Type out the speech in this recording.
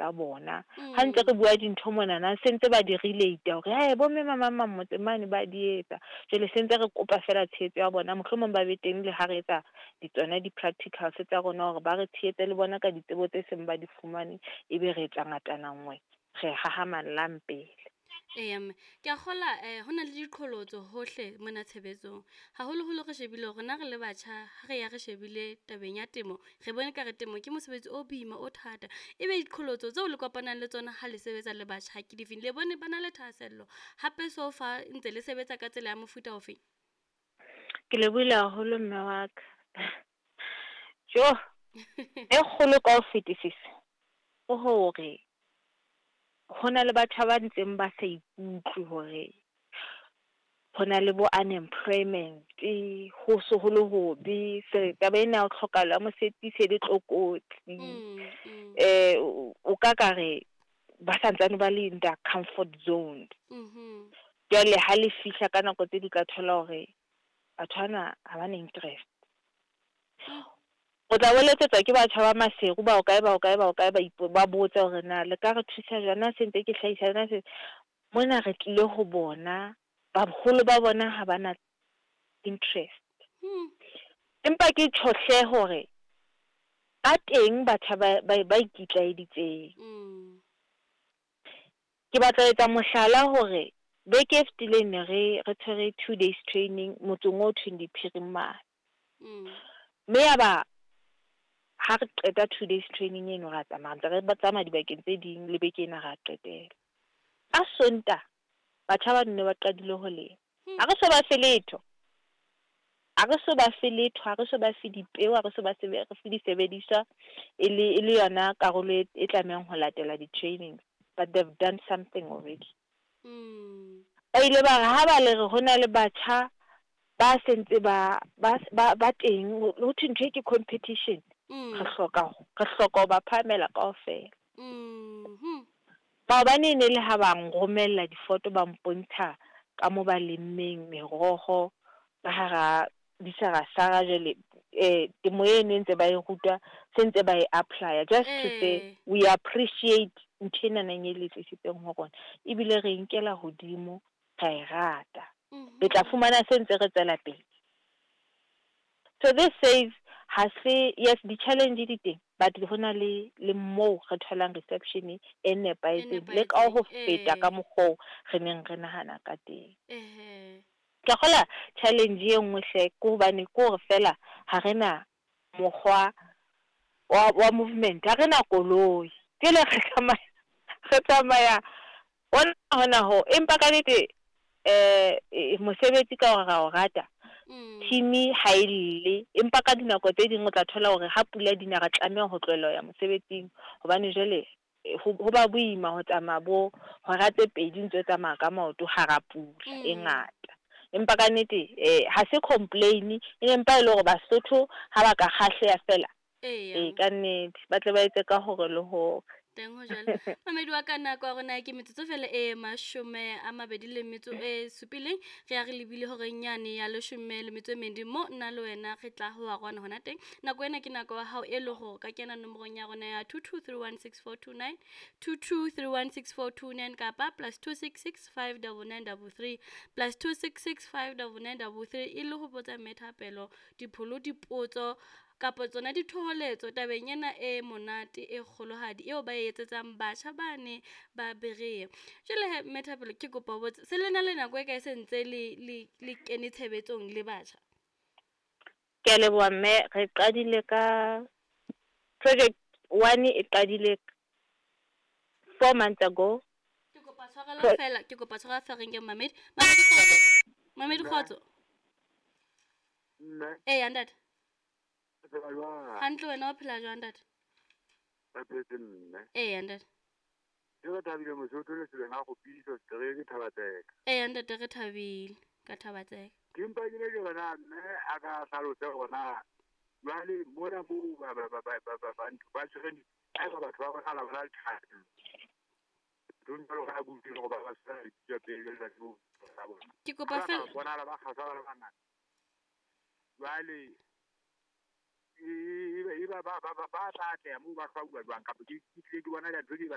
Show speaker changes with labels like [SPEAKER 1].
[SPEAKER 1] tsa bona. Ha ntse re bua dintho monana se ntse ba di relate hore he bo mme mang mang motse mane ba di etsa. Jwale se ntse re kopa fela tshehetso ya bona, mohlomong ba be teng le ha re etsa tsona di-practicals tsa rona hore ba re tshehetse le bona ka ditsebo tse seng ba di fumane, ebe re etsa ngatana nngwe, re hahamallang pele.
[SPEAKER 2] Eya mme, ke a kgola ho na le diqholotso hohle mona tshebetsong. Haholoholo re shebile hore na re le batjha ha re ya re shebile tabeng ya temo, re bone ekare temo ke mosebetsi o boima o thata. Ebe diqholotso tseo le kopanang le tsona ha le sebetsa le batjha ke difeng? Le bone ba na le thahasello hape so far ntse le sebetsa ka tsela ya mofuta ofeng?
[SPEAKER 1] Ke lebohile haholo mme wa ka. Jo, e kgolo ka ho fetisisa ke hore ho na le batjha ba ntseng ba sa ikutlwe hore ho na le bo unemployment, ho so ho le hobe, se taba ena ya ho tlhokahalo ya mosebetsi se le tlokotsi. O ka ka re ba santsane ba le in their comfort zone. Jwale ha le fihla ka nako tse di ka thola hore batho bana ha ba na interest. O tla bo letsetswa ke batjha ba Maseru ba hokae ba hokae ba hokae ba ba botsa hore na le ka re thusa jwang, na se ntse ke hlahisa na se mona re tlile ho bona, baholo ba bona ha ba na interest. Empa ke tjho hle hore ba teng batjha ba ikitlaeditseng. Ke batla ho etsa mohlala hore beke e fetileng ne re tshwere 2 days training motseng o thweng Diphirimane. Mme ya ba ha re qeta 2 days training eno ra tsamaya, ntse re tsamaya dibakeng tse ding le beke ena ra qetela. Ka Sontaha batjha ba ne ba qadile ho lema. Ha re so ba fe letho. Ha re so ba fe letho, ha re so ba fe dipeo, ha re so ba fe disebediswa e le yona karolo e tlamehang ho latela di-training, but they've done something already. Ba ile ba re ha ba le re ho na le batjha ba sentse ba teng, ho thwe ntho e ke competition. Re hloka ho ba phahamela kaofela. Maobane e ne le ha ba nromella difoto, ba mpontsha ka mo ba lemmeng meroho ka hara disarasara. Jwale temo eno e ntse ba e rutwa, se ntse ba e apply-a just to say we appreciate ntho enana e le tlisitseng ho rona, ebile re nkela hodimo, ra e rata. Le tla fumana se ntse re tswela pele. So this says ha se, yes, di-challenge di teng, but ho na le moo re tholang reception e nepahetseng le ka ho feta ka mokgo re neng re nahana ka teng. Ke kgola challenge e nngwe hle ke hobane ke hore fela ha re na mokgwa wa movement, ha re na koloi. Jwale re tsamaya hona hona ho, empa ka nnete mosebetsi ka hore ra o rata, team ha e lle, empa ka dinako tse ding o tla thola hore ha pula di na re tlameha ho tlohella ho ya mosebetsing hobane jwale ho ba boima ho tsamaya bo hora tse 2 ntse o tsamaya ka maoto hara pula e ngata. Empa ka nnete ha se complain, empa e le hore Basotho ha ba ka kgahleha fela, ka nnete ba tle ba etse ka hore le hore.
[SPEAKER 2] Teng ho jwalo. Mamedi wa ka, nako ya rona ke metsotso fela e 27. Re ya re lebile horeng yane ya 12 mo nna le wena re tla ho wa rona hona teng. Nako ena ke nako ya hao e le hore ka kena nomorong ya rona ya 22316429, 22316429 kapa +266 59933, +266 59933 e le ho botsa mme Thapelo Dipholo dipotso kapa tsona dithoholetso tabeng ena e monate e kgolohadi eo ba e etsetsang batjha bane ba Berea. Jwale he, mme Thapelo, ke kopa ho botsa, se le na le nako e kae se ntse le kene tshebetsong le batjha?
[SPEAKER 1] Ke a leboha mme, re qadile ka project one, e qadile 4 months ago.
[SPEAKER 2] Ke kopa tshwarelo fela, ke kopa tshwarelo fela, re nke mamedi. Mamedi, kgotso. Mamedi, kgotso.
[SPEAKER 3] Mme.
[SPEAKER 2] Eya ntate.
[SPEAKER 3] O phela jwang?
[SPEAKER 2] Hantle, wena o phela jwang, ntate?
[SPEAKER 3] Re phetse, mme.
[SPEAKER 2] Eya ntate.
[SPEAKER 3] Ke re thabile Mosotho le seleng a kgopiso setereke Thabatseka.
[SPEAKER 2] Eya ntate, re thabile ka Thabatseka.
[SPEAKER 3] Ke mpa ke ne ke re na mme a ka hlalose hore na jwale mona moo ba ba tshwereng, haeba batho ba bonahala ba na le thahasello nthong jwalo ka kutlwile hore ba tshwere lebitso pele jwale ba tsebe ho bona.
[SPEAKER 2] Ke kopa
[SPEAKER 3] Ha ba
[SPEAKER 2] fela
[SPEAKER 3] ka bonahala ba kgasa ba le bangata. Jwale e ba tla atleha moo ba hlwauwa jwang, kapa ke tlile ke bona ntho ke